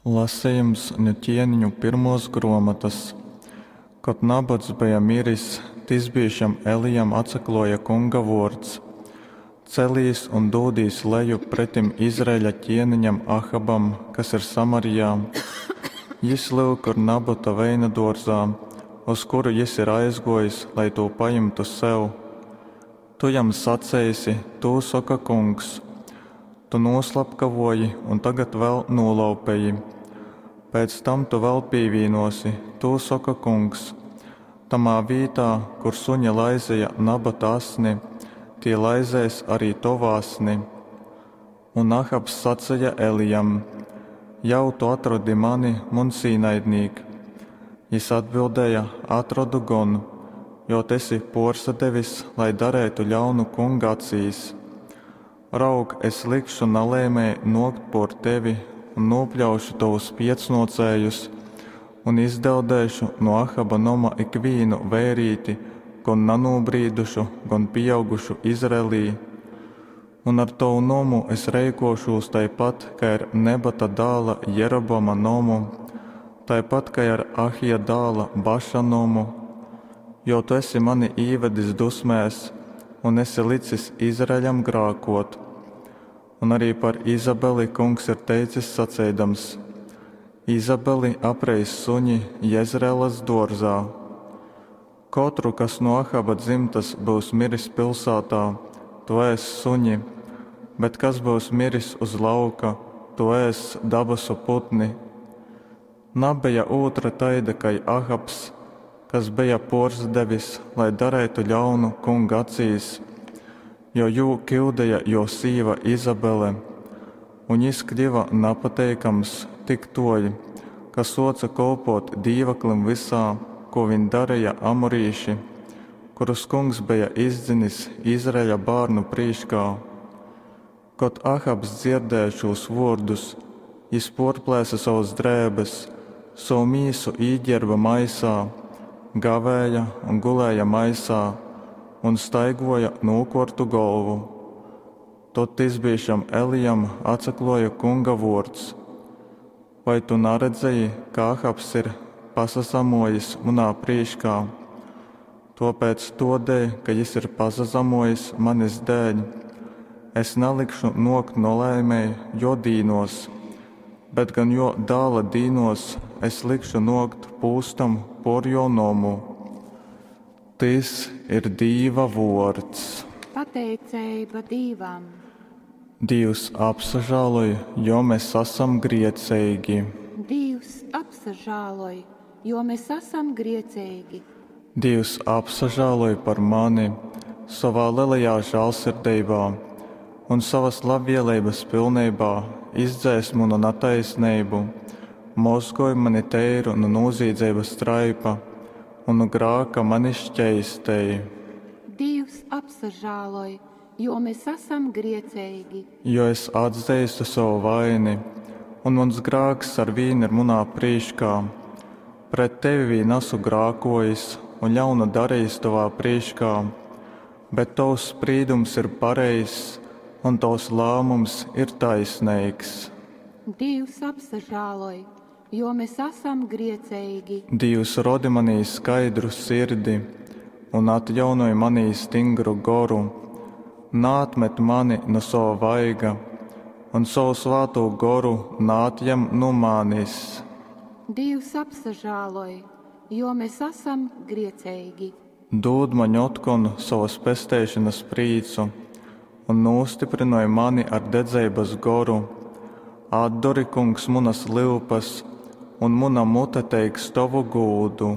Lasejums nu Ķieniņu pyrmuos gruomotys. Kod Nabots beja miris, tisbīšam Elijam atsakluoja Kunga vuords, Celīs un dūdīs lejup pretim Izraeļa ķieniņam Ahabam, kas ir Samarijā. Jis, lyuk, ir Nabota veinaduorzā, uz kuru jis ir aizguojis, lai tū pajimtu sev. Tu jam saceisi: Tū soka Kungs: Tu nūslapkavoji un tagad vēl nūlaupeji. Pēc tam tu vēl pīvīnuosi, tū soka Kungs. Tamā vītā, kur suņi laizeja Nabota asni, tī laizēs arī tovu asni. Un Ahabs saceja Elijam: Jau tu atrodi mani, muns īnaidnīk. Jis atbildēja: Atrodu gon, jo tu esi puorsadevis, lai dareitu ļaunu Kunga acīs. Raug, es likšu nalaimei nuokt puor tevi un nūpļaušu tovus piecnuocējus un izdeldēšu nu Ahaba noma ikvīnu veirīti, gon nanūbrīdušu, gon pīaugušu Izraelī. Un ar tovu nomu es reikošūs taipat, kai ar Nebata dāla Jeroboama nomu, taipat kai ar Ahija dāla Baša nomu, jo tu esi mani īvedis dusmēs un esi licis Izraeļam grākot. Un arī par Izabeli kungs ir teicis saceidams: Izabeli apreis suņi Jezreelas duorzā. Kotru, kas no Ahaba dzimtas byus miris pilsātā, to ēss suņi, bet kas byus miris uz lauka, to ēss dabasu putni. Nabeja ūtra taida kai Ahabs, kas beja puorsadevis, lai dareitu ļaunu Kunga acīs, jo jū kiudeja juo sīva Izabele, un jis kļiva napateikams tik tuoļ, ka suoce kolpot dīvaklim vysā, ko viņ dareja amorīši, kurus Kungs beja izdzinis Izraeļa bārnu prīškā. Kod Ahabs dzierdēja šūs vuordus, jis puorplēse sovas drēbes, sovu mīsu īģērba maisā, gavēja un gulēja maisā un staiguoja nūkuortu golvu. Tod tisbīšam Elijam atsakluoja Kunga vuords: Vai tu naredzēji, ka Ahabs ir pasazamuojis munā prīškā? Tuopēc tuodēļ, ka jis ir pasazamuojis manis dēļ, es nalikšu nuokt nolaimei juo dīnuos, bet gan juo dāla dīnuos es likšu nuokt pūstam puor juo nomu. Tys ir Dīva vuords. Pateiceiba Dīvam. Dīvs apsažāloj, jo mēs asam grieceigi. Dīvs apsažāloj, jo mēs asam grieceigi. Dīvs apsažāloj par mani sovā lielajā žālsirdeibā un savas labvēlības pilnībā izdzēs manu nataisnību, mozgoj mani teiru no noziedzības traipa un no grāka mani šķeistēji. Dīvs apsažāloj, jo mēs asam grieceigi. Jo es atzīstu savu vaini, un mans grāks ar vīnu ir munā prīškā. Pret tevi vīn esmu grākojis un ļaunu darījis tavā prīškā, bet tavs sprīdums ir pareizs un tavs lēmums ir taisnīgs. Dīvs apsažāloj, jo mēs asam grieceigi. Dīvs rodi manī skaidru sirdi un atjaunoj manī stingru goru. Nātmet mani no sava vaiga un savu svāto goru nātjem no manis. Dīvs apsažāloj, jo mēs asam grieceigi. Dūd man otkon savas pesteišanas prīcu un nostiprinoj mani ar dedzeibas goru. Atdori, kungs, munas lyupas, un muna mute teiks tovu gūdu.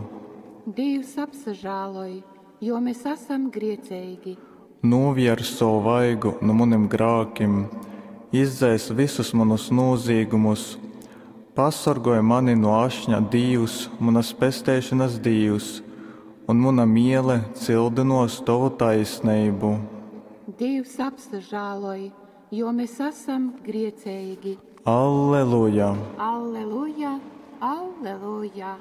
Dīvs apsažāloj, jo mēs asam grieceigi. Nūvier savu vaigu no munim grākim, izdzēs visus manus nozīgumus. Pasargoj mani no ašņa Dīvs, munas pesteišanas Dīvs, un muna miele cildinos tovu taisnību. Dīvs apsažāloj, jo mēs esam grieceigi. Alleluja! Alleluja! Alleluja!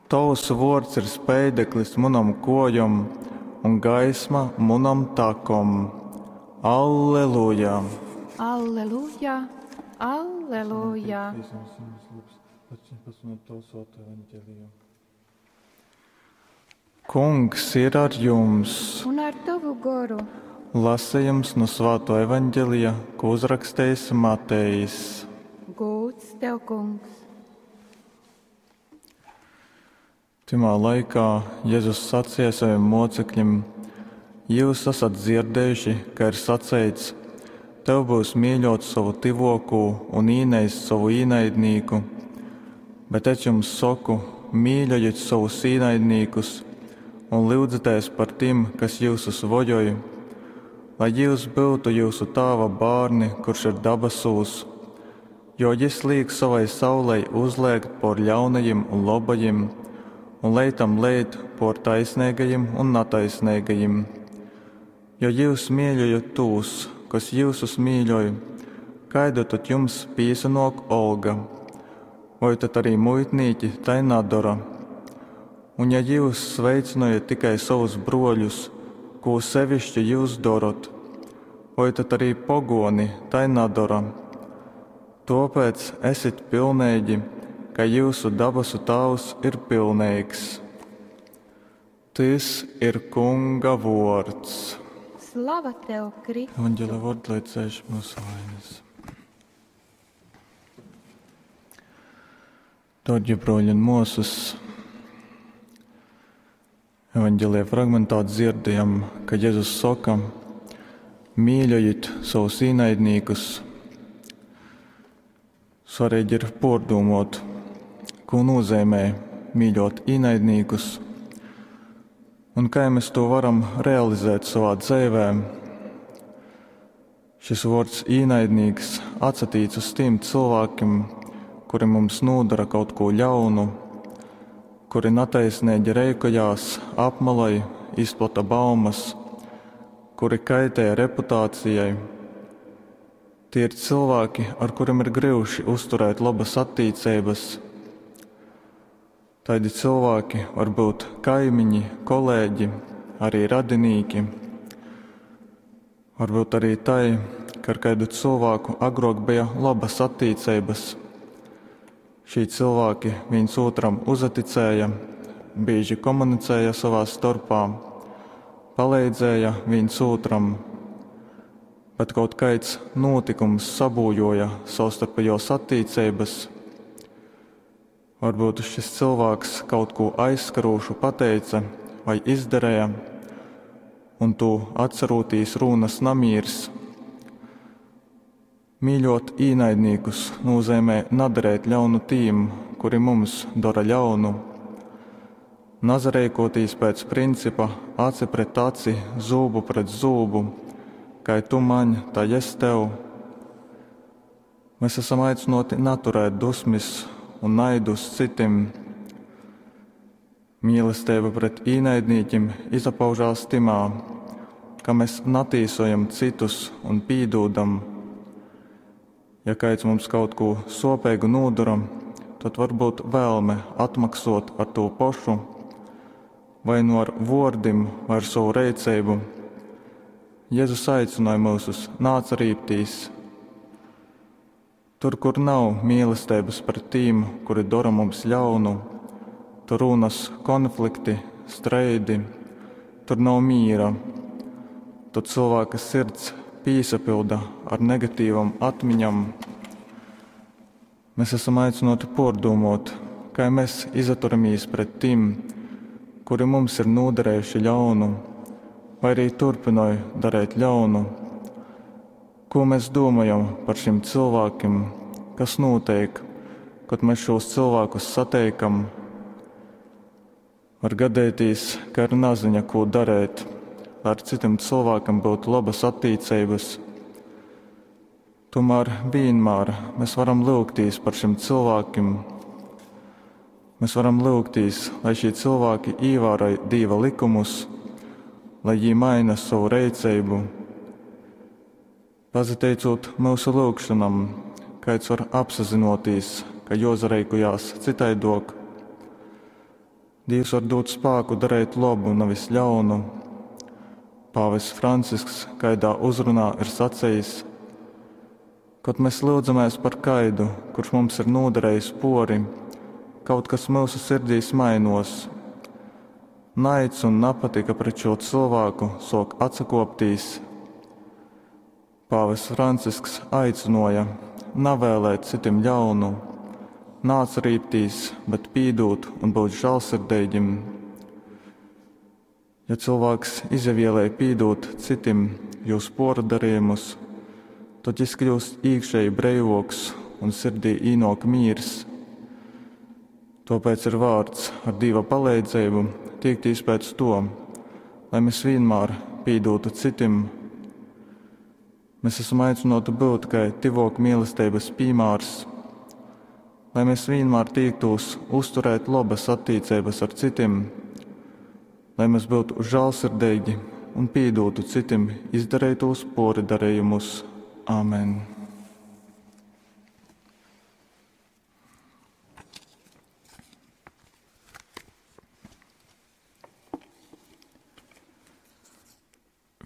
Tavs vārds ir speideklis munam kojam un gaisma munam takom. Alleluja! Alleluja! Alleluja! Kungs ir ar jums! Un ar tavu goru! Lasījums no Svāto evaņģelija, ko uzrakstījis Matejs. Gūds tev, kungs! Timā laikā Jēzus sacīja saviem mocekļiem: Jūs esat dzirdējuši, ka ir saceits: Tev būs mīļot savu tivokū un īneist savu īnaidnīku. Bet es jums saku, mīļojiet savus īnaidnīkus un lūdzieties par tiem, kas jūsus vojoj, lai jūs būtu jūsu tāva bārni, kurš ir dabasūs, jo jis liek savai saulei uzlēkt por ļaunajiem un labajiem, un leitam leit por taisnīgajiem un nataisnīgajiem. Jo jūs mīļojat tos, kas jūsus mīļoj, kāda tad jums pīsanok olga? Vai tad arī muitnīki tai nadara? Un ja jūs sveicinojat tikai savus broļus, ko sevišķi jūs darot, vai tad arī pogoni tai nadara? Tāpēc esit pilnīgi, ka jūsu dabasu Tēvs ir pilnīgs. Tys ir Kunga vārds. Slava tev, Kristu! Evanģelia vārds, lai cēš mūsu vainas. Dārgie broļi un māsas, Evanģelia fragmentā dzirdējam, ka Jēzus saka: mīļojiet savus īnaidnīkus. Svarīgi ir pārdomot, ko nozīmē mīļot īnaidnīkus un kā mēs to varam realizēt savā dzīvē. Šis vārds īnaidnīgs atsatīts uz tiem cilvēkiem, kuri mums nodara kaut ko ļaunu, kuri netaisnīgi reikojās, apmaloj, izplata baumas, kuri kaitē reputācijai. Tie ir cilvēki, ar kuriem ir grūti uzturēt labas attiecības. Tādi cilvēki var būt kaimiņi, kolēģi, arī radinieki. Varbūt arī tai, ka ar kādu cilvēku agrāk bija labas attiecības. Šī cilvēki viens otram uzaticēja, bieži komunicēja savā starpā, palīdzēja viens otram, bet kaut kāds notikums sabūjoja savstarpējos attiecības. Varbūt šis cilvēks kaut ko aizskarošu pateica vai izdarīja, un tu atcerotīs rūnas namīrs. Mīļot īnaidnīkus nozīmē nadarēt ļaunu tīm, kuri mums dara ļaunu. Nazarēkotīs pēc principa aci pret aci, zūbu pret zūbu, kai tu man, tā es tev. Mēs esam aicināti naturēt dusmis un naidu uz citiem. Mīlestība pret īnaidnīkiem izpaužās timā, ka mēs natīsojam citus un pīdūdam. Ja kāds mums kaut ko sopīgu nodara, tad varbūt vēlme atmaksot ar to pašu, vai nu ar vārdiem, vai ar savu rīcību. Jēzus aicināja mūsus nāc rīptīs. Tur, kur nav mīlestības pret tīm, kuri dara mums ļaunu, tur rūnas konflikti, streidi, tur nav mīra. Tad cilvēka sirds pīsapilda ar negatīvam atmiņam. Mēs esam aicināti pārdomot, kā mēs izaturamies pret tiem, kuri mums ir nodarījuši ļaunu, vai arī turpināja darīt ļaunu. Ko mēs domājam par šiem cilvēkiem, kas notiek, kad mēs šos cilvēkus satiekam? Var gadīties, ka ir naziņa, ko darīt, lai ar citiem cilvēkiem būtu labas attiecības. Tomēr vienmēr mēs varam lūgtīs par šiem cilvēkiem. Mēs varam lūgtīs, lai šie cilvēki ievēroja Dieva likumus, lai viņi maina savu rīcību. Pazateicot mūsu lūgšanam, kāds var apsazinoties, ka jozarēkujās citaidok. Dievs var dot spēku darīt labu, nevis ļaunu. Pāvests Francisks kaidā uzrunā ir sacījis: Kod mes lyudzamēs par kaidu, kurš mums ir nūdarējis pōri, kaut kas myusu sirdīs mainōs. Naids un napatika pret šo cylvāku sōk atsakōptīs. Pāvests Francisks aicynōja navēlēt cytim ļaunu, naatsarībtīs, bet pīdūt un būt žālsirdeigim. Ja cylvāks izavielej pīdūt cytim jūs pōrdarījumus, tod jis kļūst īkšēji breivōks un sirdī īnōk mīrs. Tōpēc ir vārts ar Dīva paleidzeibu tīktīs pēc to, lai mēs vienmēr pīdūtu citim. Mēs esam aicināti būt kai tyvōk mīlestības piemērs, lai mēs vienmēr tīktos uzturēt labas attiecības ar citim, lai mēs būtu žālsirdīgi un pīdūtu citim izdarītos poridarījumus. Āmen!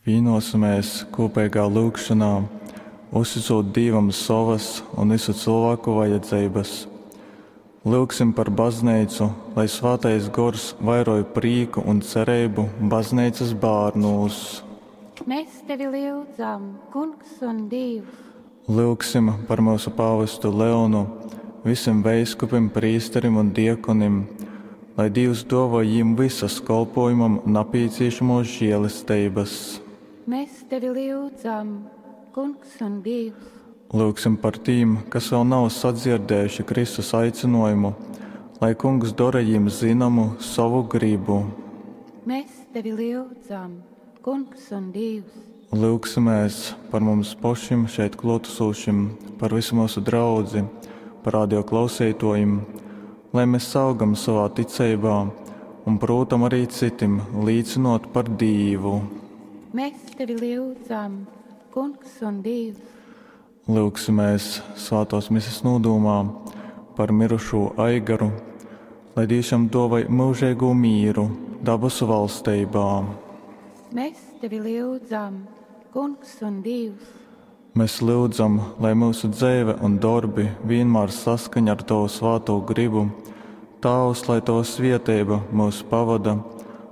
Vīnosimies kopīgā lūgšanā, uzticot Dievam savas un visu cilvēku vajadzības. Lūgsim par baznīcu, lai svētais gors vairoj prīku un cerību baznīcas bērnūs. Mēs tevi lūdzam, Kungs un Dievs. Lūgsim par mūsu pāvestu Leonu, visiem veiskupim, prīsterim un diekonim, lai Dievs dāvā jim visas kolpojumam nepieciešamos žēlestības. Mēs tevi lūdzam, Kungs un Dievs. Lūgsim par tīm, kas vēl nav sadzirdējuši Kristus aicinājumu, lai Kungs dara jim zināmu savu gribu. Mēs tevi lūdzam, Kungs un Dievs. Lūgsimies par mums pašiem šeit klātesošiem, par visu mūsu draudzi, par radio klausītājiem, lai mēs augam savā ticībā un, protams, arī citim līdzinot par Dievu. Mēs tevi lūdzam, Kungs un Dievs. Lūgsimies svētās mises nodomā par mirušo Aigaru, lai Dievs jam dāvāj mūžīgo mīru dabasu valstībā. Mēs tevi lūdzam, Kungs un Dievs. Mēs lūdzam, lai mūsu dzīve un darbi vienmēr saskaņ ar Tavu svēto gribu. Tēvs, lai Tava svētība mūs pavada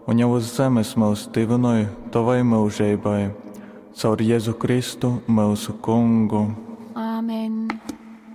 un jau uz zemes mūs tivinoj Tavai mūžībai. Caur Jēzu Kristu, mūsu Kungu.